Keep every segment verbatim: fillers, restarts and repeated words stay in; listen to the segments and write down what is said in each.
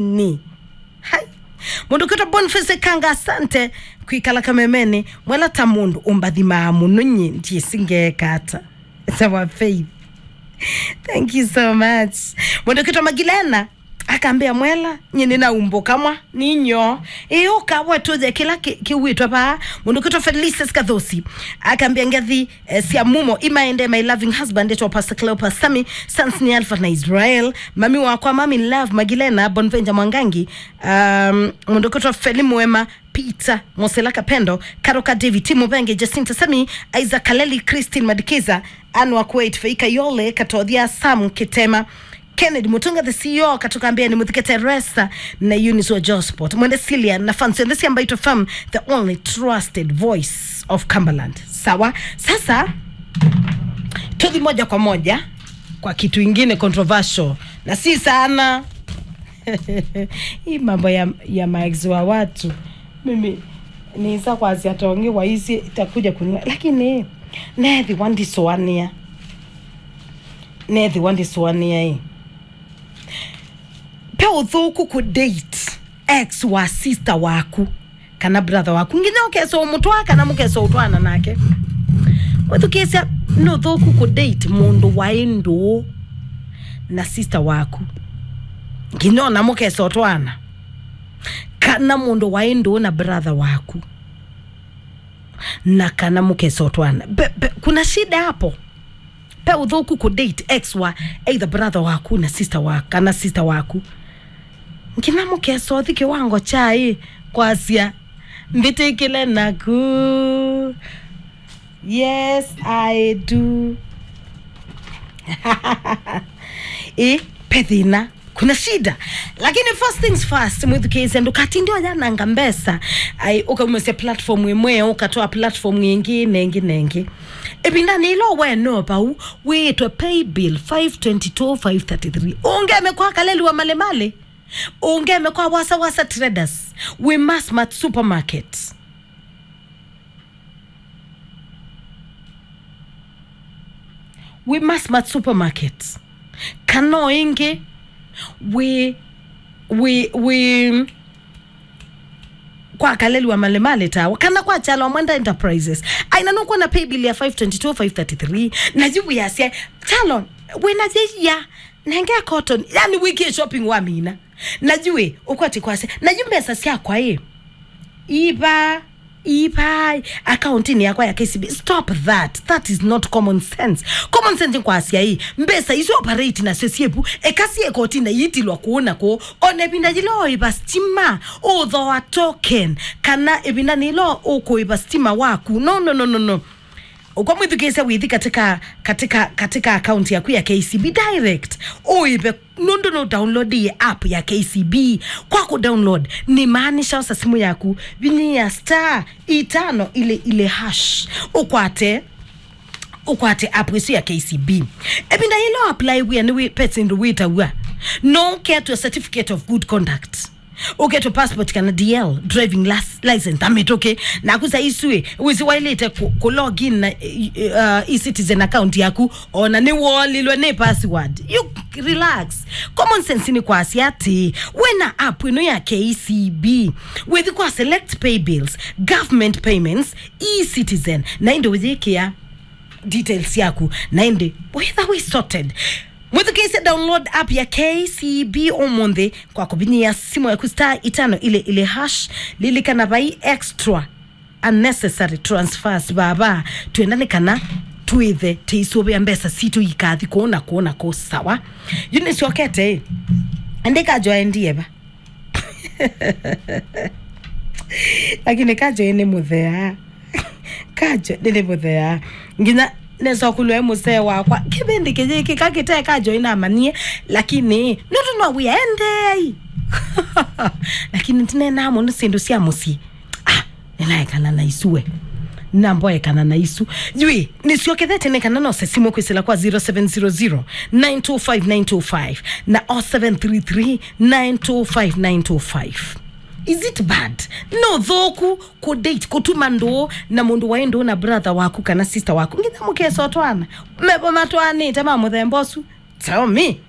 Ni. Hai. Mũndũ ũkwĩtwa Boniface Kanga, asante kwĩkala kamemeni. Mwela ta mũndũ ũmbathimaa mũno, nyie ndiĩsĩ ngeeka ata. Sawa Faith. Thank you so much. Mũndũ ũkwĩtwa Magilena akambĩa, "Mwela, nyie nĩnaumbũka mwa, ninyoo." Ĩĩ, ũka we tũthe kĩla kĩ-, kĩwĩtwa vaa. Mũndũ ũkwĩtwa Felices Kathosi akambĩa, "Ngethi eh, sya mumo imaende, my loving husband, ĩtwa Pastor Cleopas Sami, sons nĩ Alpha na Israel, mami wakwa, mami love, Magilena, Bonvenja Mwangangi, um, mũndũ ũkwĩtwa Feli Mwema, Peter Mosela Kapendo, Karoka David, Timu Benge, Jacinta Sami, Isaac Kaleli, Christine Madikiza, Anne wa Kuwait, Feika Yole, Katothia, Sam Kitema, Kennedy Mutunga, the C E O, Katukambia, nĩ mũthike Teresa na Eunice wa Josport. Mwende Celia na fans yonthe sya Mbaitũ F M, the only trusted voice of Cumberland. Sawa? Sasa, tuthi moja kwa moja kwa kitu ingine controversial. Na si sana. Hii mambo ya, ya maex wa watu. Mimi, nisa kwasya tongi wa isi itakuja kunywa. Lakini, nethi wandisũanĩa. Nethi wandisũanĩa ĩ. Pe ũthũku kũ date ex wa sister waku kana brother waku, nginya ũkesa ũmũtwaa kana mũkesa ũtwaana nake. Wĩthukĩĩsya, nĩ ũthũku kũ date mũndũ waĩ ndũũ na sister waku, nginya ona mũkesa ũtwaana, kana mũndũ waĩ ndũũ na brother waku, na kana mũkesa ũtwaana. Pe, pe, kuna shida hapo. Pe ũthũku kũ date ex wa either brother waku na sister wa, kana sister waku. Nginya mũkesa ũthi kĩwango kya ĩ kwasya, "Mbĩtĩkĩle naku." Yes, I do. Ĩ, pe thĩna. Kuna shida. Lakini first things first, mwĩthukĩĩsye, ndũkatinde ũyananga mbesa. Ai, ũkaumasya platform ĩmwe, ũkatwaa platform ĩngĩ, na ĩngĩ, na ĩngĩ. Ĩvindanĩ ĩla we no vau, wĩĩtwe pay bill five twenty-two five thirty-three. Ũngeme kwa Kaleli wa Malemale. Ũngeme kwa Wasa Wasa Traders. Wĩ Massmart Supermarket. Wĩ Massmart Supermarket. Kana o ĩngĩ, wĩ, wĩ, wĩ kwa Kaleli wa Malemale tawa. Kana kwa Kyalo wa Mwenda Enterprises. Aina nũkwona pay bill ya five twenty-two five thirty-three. Na yu wĩasya, "Kyalo, wĩna yĩia. Nenge cotton." Yani wĩkie shopping wa mina. Na yu ĩ, ũkwati kwasya, "Na yu mbesa syakwa ĩ? Iva, iva, akauntinĩ yakwa ya K C B." Stop that. That is not common sense. Common sense nĩ kwasya ĩ, mbesa isu operate nasyo syĩvu, eka syĩ kotini na iitilwa kũũ na kũũ. Ona ĩvinda yĩla ũĩva stima, ũthoa token, kana ĩvinda nĩla ũkũĩva stima waku. No, no, no, no, no. Ũkwa mwĩthukĩĩsya wĩthi katika, katika, katika account yaku ya K C B direct. Ũĩve nũndũ nũ download ĩ app ya K C B. Kwa kũ download, nĩ maanisha osa simu yaku, vinyia star itano ile ile hash. Ũkwate, ũkwate app ĩsu ya K C B. Ĩvinda yĩla apply wĩa nĩ wĩ, pete ndũ wĩtaw'a. No ketwe certificate of good conduct. Ũketwe passport kana D L, driving las-, license, ta mĩtũkĩ. Naku sa isu ĩ, wĩsĩ waĩlĩte kũ, kũ log in na, eh, eh, uh, e-citizen account yaku, ona nĩ wolilwe nĩ password. You relax. Common sense nĩ kwasya atĩ, wĩna app ĩno ya K C B, wĩthi kwa select pay bills, government payments, e-citizen, na ĩndĩ ũyĩkĩa details yaku, na ĩndĩ wĩtha wĩ sorted. Mwĩthukĩĩsye, download app ya K C B ũmũnthĩ kwa kũvinyĩa simũ yaku star itano ile ile hash. Lilikana, vai extra unnecessary transfers vava. Twenda nĩ kana twĩthe tĩisũvĩa mbesa sitũ ikathi kũũ na kũũ na kũũ, sawa? Yu nĩsyokete ĩ. Ĩndĩ Kajo aendie va? Lakini Kajo ĩ nĩ mũthea. Kajo ĩ nĩ mũthea. Nginya nesa kũlwa ĩ mũsee wakwa. Kĩvĩndĩ kĩyĩkĩka kĩte Kajo ĩ namanyie. Lakini nũndũ no wĩa endeei. Lakini ndinenaa mũno syĩndũ sya mũsyĩ. Ah, nĩnaekana na isu we. Namboekana na isu. Yui, nĩsyokethete nĩ kana nose simũ kwĩsĩla kwa zero seven zero zero, nine two five, nine two five na oh seven three three, nine two five, nine two five. Is it bad? No thũku kũ date, kũtuma ndũũ na mũndũ waĩ ndũũ na brother waku kana sister waku. Nginya mũkesa ũtwana. Mevo matwanĩte ma mũthemba ũsu. Tell me.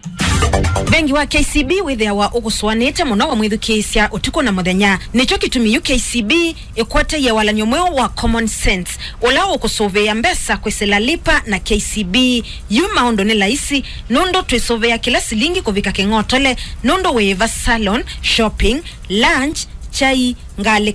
Vengi wa K C B wĩthĩawa ũkũsũanĩte mũno wa mwĩthukĩĩsya ũtukũ na mũthenya. Nĩkyo kĩtumi yu K C B ĩkwatĩie walany'o mweũ wa Common Sense, ũla ũkũsũvĩĩa mbesa kwĩsĩla Lipa na K C B. Yu maũndũ nĩ laisi, nũndũ twĩsũvĩa kĩla silingi kũvika kĩng'otole, nũndũ wĩĩva, salon, shopping, lunch, kyai, ngalĩ,